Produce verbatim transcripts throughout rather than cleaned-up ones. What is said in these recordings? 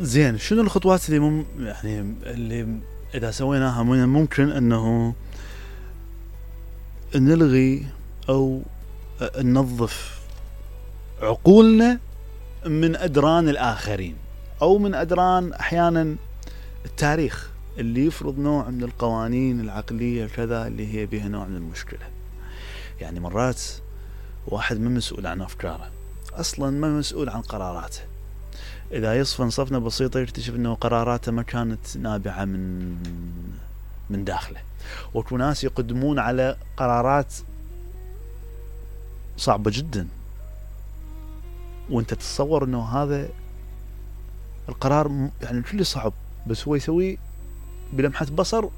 زين، شنو الخطوات اللي مم يعني اللي اذا سويناها ممكن انه نلغي او ننظف عقولنا من ادران الاخرين او من ادران احيانا التاريخ اللي يفرض نوع من القوانين العقلية كذا اللي هي بها نوع من المشكلة. يعني مرات واحد ما مسؤول عن افكاره اصلا، ما مسؤول عن قراراته. اذا يصفن صفنة بسيطة يكتشف انه قراراته ما كانت نابعة من من داخله. وكو ناس يقدمون على قرارات صعبة جدا وانت تتصور انه هذا القرار يعني كله صعب، بس هو يسويه بلمحة بصر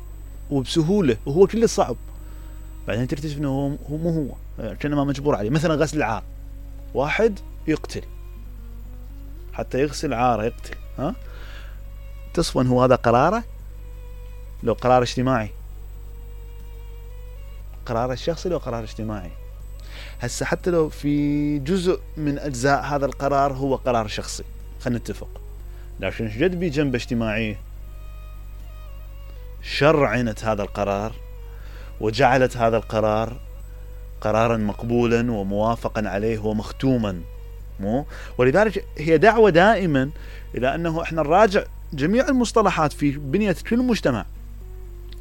وبسهولة وهو كله صعب. بعدين تكتشف انه هو, هو مو هو كأنه ما مجبور عليه. مثلا غسل العار، واحد يقتل حتى يغسل عاره يقتل، ها تصفن هو هذا قراره؟ لو قرار اجتماعي، قرار الشخصي لو قرار اجتماعي. هسه حتى لو في جزء من اجزاء هذا القرار هو قرار شخصي خلينا نتفق، لكن جد بي جنب اجتماعي شرعنت هذا القرار وجعلت هذا القرار قرارا مقبولا وموافقا عليه ومختوما. مو ولذلك هي دعوة دائما الى انه احنا نراجع جميع المصطلحات في بنية كل مجتمع.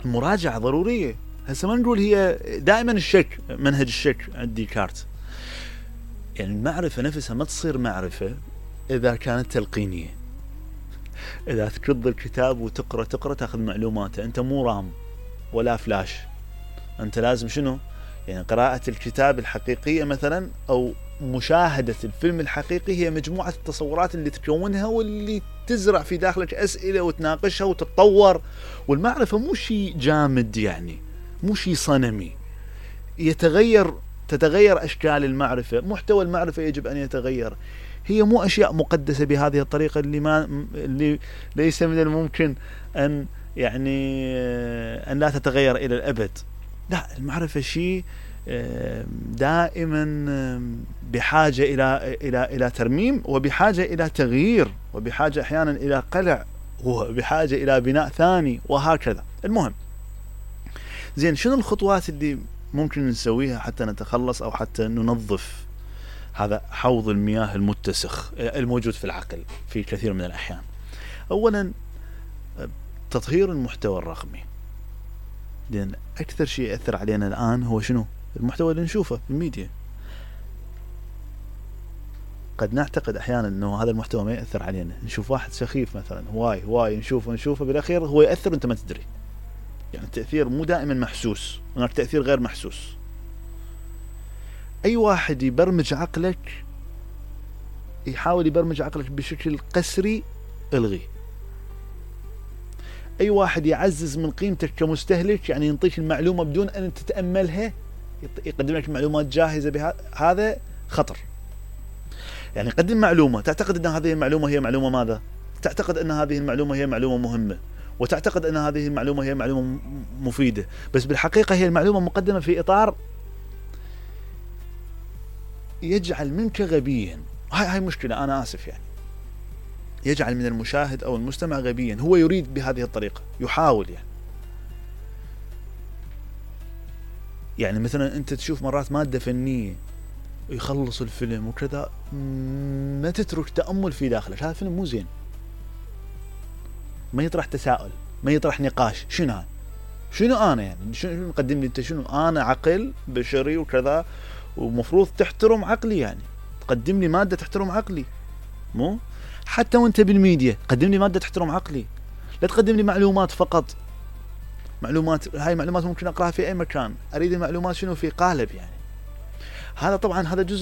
المراجعة ضرورية. هسه ما نقول هي دائما الشك، منهج الشك عند ديكارت. يعني المعرفة نفسها ما تصير معرفة اذا كانت تلقينية. اذا تكض الكتاب وتقرأ تقرأ تاخذ معلوماته، انت مو رام ولا فلاش، انت لازم شنو؟ يعني قراءة الكتاب الحقيقية مثلا او مشاهدة الفيلم الحقيقي هي مجموعة التصورات اللي تكونها واللي تزرع في داخلك أسئلة وتناقشها وتتطور. والمعرفة مو شيء جامد، يعني مو شيء صنمي يتغير، تتغير أشكال المعرفة، محتوى المعرفة يجب أن يتغير. هي مو أشياء مقدسة بهذه الطريقة اللي ما اللي ليس من الممكن أن يعني أن لا تتغير إلى الأبد. لا، المعرفة شيء دائما بحاجة إلى إلى إلى ترميم، وبحاجة إلى تغيير، وبحاجة أحيانا إلى قلع، وبحاجة إلى بناء ثاني، وهكذا. المهم، زين، شنو الخطوات اللي ممكن نسويها حتى نتخلص أو حتى ننظف هذا حوض المياه المتسخ الموجود في العقل في كثير من الأحيان؟ أولا تطهير المحتوى الرقمي. لأن أكثر شيء يأثر علينا الآن هو شنو؟ المحتوى اللي نشوفه في الميديا. قد نعتقد أحيانا أنه هذا المحتوى ما يأثر علينا، نشوف واحد سخيف مثلا هواي هواي نشوفه نشوفه بالأخير هو يأثر وأنت ما تدري. يعني التأثير مو دائما محسوس، هناك تأثير غير محسوس. أي واحد يبرمج عقلك، يحاول يبرمج عقلك بشكل قسري، الغيه. أي واحد يعزز من قيمتك كمستهلك، يعني ينطيك المعلومة بدون أن تتأملها، يقدم لك معلومات جاهزة بها، هذا خطر. يعني قدم معلومة تعتقد أن هذه المعلومة هي معلومة ماذا؟ تعتقد أن هذه المعلومة هي معلومة مهمة، وتعتقد أن هذه المعلومة هي معلومة مفيدة، بس بالحقيقة هي المعلومة مقدمة في إطار يجعل منك غبيا. هاي هاي مشكلة، أنا آسف، يعني يجعل من المشاهد أو المستمع غبيا. هو يريد بهذه الطريقة، يحاول يعني يعني مثلا أنت تشوف مرات مادة فنية يخلص الفيلم وكذا، ما تترك تأمل في داخلك، هذا الفيلم مو زين، ما يطرح تساؤل، ما يطرح نقاش. شنو هذا؟ شنو أنا يعني شنو مقدم لي أنت؟ شنو أنا؟ عقل بشري وكذا، ومفروض تحترم عقلي، يعني تقدم لي مادة تحترم عقلي. مو حتى وانت بالميديا قدم لي مادة تحترم عقلي، لا تقدم لي معلومات فقط. معلومات، هاي معلومات ممكن أقرأها في أي مكان، أريد المعلومات شنو في قالب. يعني هذا طبعا هذا جزء